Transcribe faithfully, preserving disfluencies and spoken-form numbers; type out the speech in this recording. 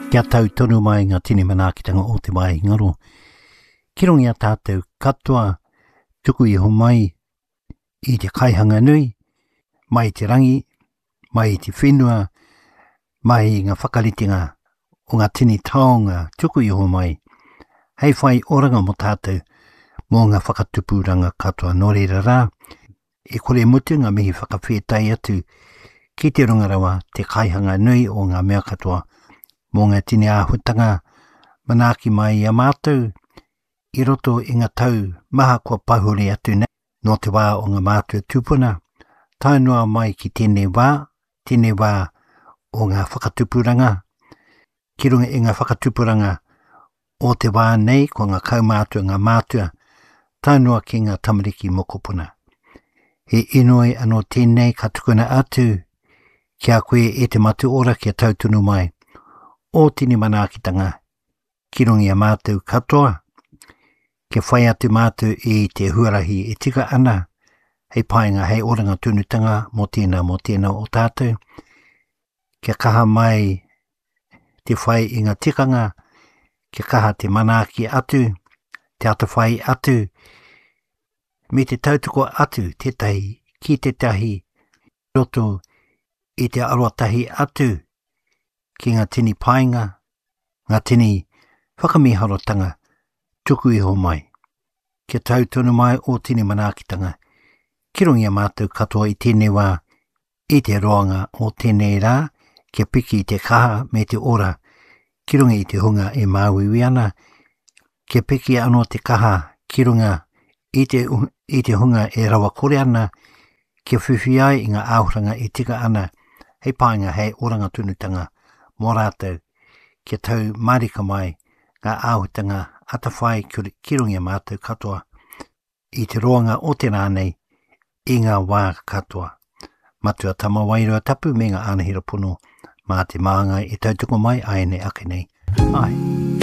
Kia tau tonu mai ngā tini manaakitanga o te wāhi ngaro. Ki runga i a tātou katoa, tuku iho mai i te kaihanga nui, mai i te rangi, mai i te whenua, mai i ngā whakaritenga o ngā tini taonga tuku iho mai, hei whai oranga mō tātou, mō ngā whakatupuranga katoa. Nō reira rā, e kore mutu ngā mihi whakawhētai atu ki te runga rawa, te kaihanga nui o ngā mea katoa, mō ngā tini āhuatanga manaaki mai i a mātou i roto i ngā tau maha kua pahure atu nei, nō te wā o ngā mātua tūpuna, tae noa mai ki tēnei wā, tēnei wā o ngā whakatupuranga, ki runga i ngā whakatupuranga o te wā nei, ko ngā kaumātua, ngā mātua, tae noa ki ngā tamariki mokopuna. He inoi anō tēnei ka tukuna atu ki a koe e te Matu Ora kia tau tonu mai o tini manaakitanga ki runga i a mātou katoa, kia whai atu mātou i te huarahi e tika ana, hei painga, hei oranga tonutanga mō tēnā, mō tēnā o tātou, kia kaha mai te whai i ngā tikanga, kia kaha te manaaki atu, te atawhai atu, me te tautoko atu tētahi ki tētahi roto i te arotahi atu ki ngā tini painga, ngā tini whakamiharotanga tuku iho mai. Kia tau tonu mai o tini manaakitanga, ki runga i a mātou katoa i tēnei wā, i te roanga o tēnei rā, kia piki te kaha me te ora, ki runga i te hunga e māuiui ana, kia piki anō te kaha ki runga i te, i te hunga e rawakore ana, kia whiwhi ai i ngā āhuranga e tika ana, hei painga, hei oranga tonutanga mō rātou, kia tau mārika mai ngā āhutanga atawhai ki runga i a mātou katoa i te roanga o te rā nei i ngā wā katoa. Matua Tama Wairua Tapu me ngā ānahira pono mā te māngai e tautoko mai āianei ake nei. Ai.